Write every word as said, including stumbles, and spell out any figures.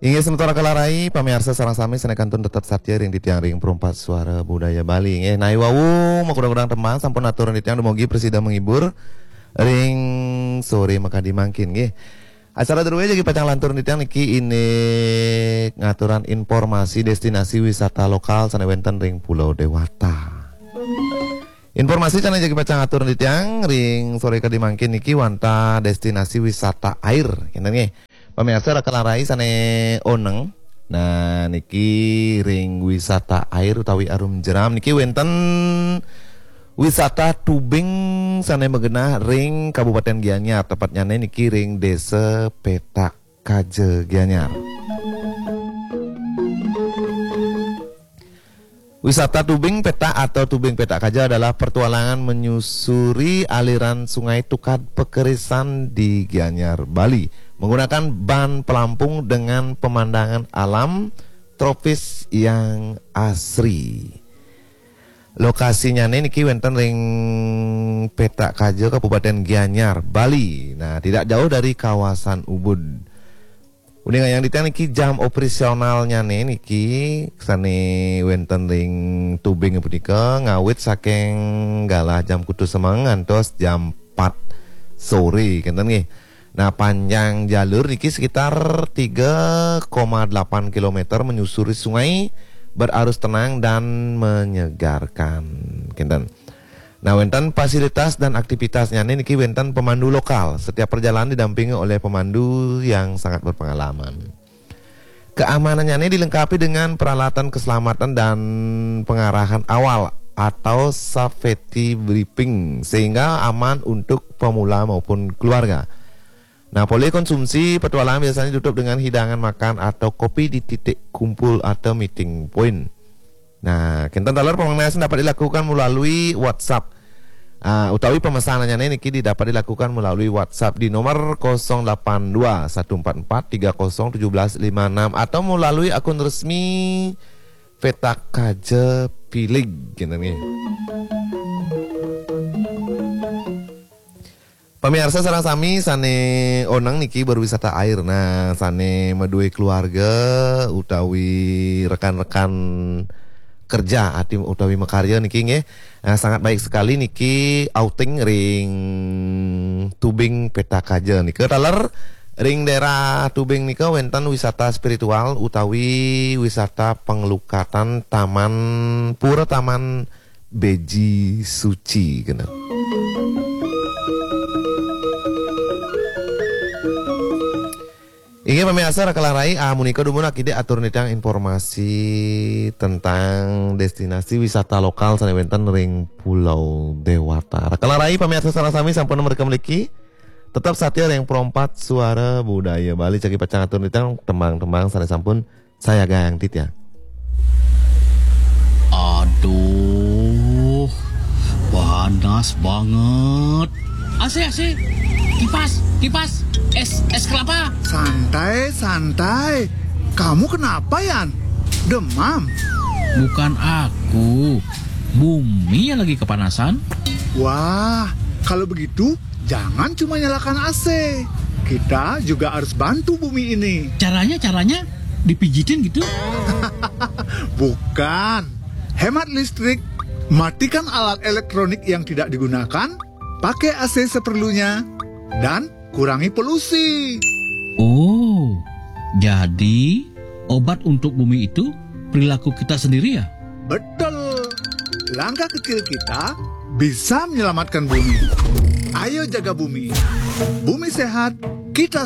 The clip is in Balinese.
Inggih semeton kalarai, pamiarsa sareng sami sané kantun tetep satia ring titiang ring Perumpat Suara Budaya Bali. Inggih, nawi wau makudang-kudang tembang sampun atur titiang dumugi prasida menghibur ring sore makadi mangkin nggih. Acara druéné jagi pacang lantur titiang niki indik ngaturang informasi destinasi wisata lokal sané wénten ring Pulau Dewata. Informasi sané jagi pacang atur titiang ring sore kadi mangkin niki wantah destinasi wisata air, kénten nggih. Pamiarsa raka larai sané oneng. Nah, niki ring wisata air utawi arum jeram niki wénten wisata tubing sané magenah ring Kabupaten Gianyar, tepatnyané niki ring Désa Petak Kaja Gianyar. Wisata tubing petak atau tubing petak kaja adalah pertualangan menyusuri aliran Sungai Tukad Pekerisan di Gianyar, Bali, menggunakan ban pelampung dengan pemandangan alam tropis yang asri. Lokasinyané niki wénten ring Petak Kaja, Kabupaten Gianyar, Bali. Nah, tidak jauh dari kawasan Ubud. Uning ayang titiang niki jam operasionalnyané niki sané wénten ring tubing punika ngawit saking galah jam kutus semeng ngantos jam empat sore, kénten nggih. Nah, panjang jalur niki sekitar tiga koma delapan kilometer menyusuri sungai berarus tenang dan menyegarkan, kénten. Nah, wénten fasilitas dan aktivitasnyané niki wénten pemandu lokal. Setiap perjalanan didampingi oleh pemandu yang sangat berpengalaman. Keamanannyané dilengkapi dengan peralatan keselamatan dan pengarahan awal atau safety briefing sehingga aman untuk pemula maupun keluarga. Nah, polih konsumsi petualangan biasanya ditutup dengan hidangan makan atau kopi di titik kumpul atau meeting point. Nah, kénten taler pamanggihan dapat dilakukan melalui WhatsApp. Ah, utawi pemesanannyané niki dapat dilakukan melalui WhatsApp di nomor kosong delapan dua satu empat empat tiga kosong tujuh belas lima enam atau melalui akun resmi Petak Kaja Pilig, kénten nggih. Pamiarsa sareng sami sané oneng niki berwisata air. Nah, sané madué keluarga utawi rekan-rekan kerja ati utawi makarya niki nggih. Nah, sangat baik sekali niki outing ring tubing Petak Kaja nika. Taler ring daerah tubing nika wénten wisata spiritual utawi wisata penglukatan Taman Pura Taman Beji Suci, kénten. Inggih pamiarsa raka larai, ah, munika dumun akidik atur nitang informasi tentang destinasi wisata lokal sané wénten ring Pulau Dewata. Raka larai pamiarsa sareng sami sampun mereka mriki. Tetap satia ring Perumpat Suara Budaya Bali, jagi pacang atur nitang tembang-tembang sané sampun sayagang titiang. Aduh, panas banget. A C, A C. Kipas, kipas. Es, es kelapa. Santai, santai. Kamu kenapa, Yan? Demam? Bukan aku. Bumi yang lagi kepanasan. Wah, kalau begitu jangan cuma nyalakan A C. Kita juga harus bantu bumi ini. Caranya, caranya dipijitin gitu? Bukan. Hemat listrik, matikan alat elektronik yang tidak digunakan, pakai A C seperlunya, dan kurangi polusi. Oh, jadi obat untuk bumi itu perilaku kita sendiri ya? Betul. Langkah kecil kita bisa menyelamatkan bumi. Ayo jaga bumi. Bumi sehat, kita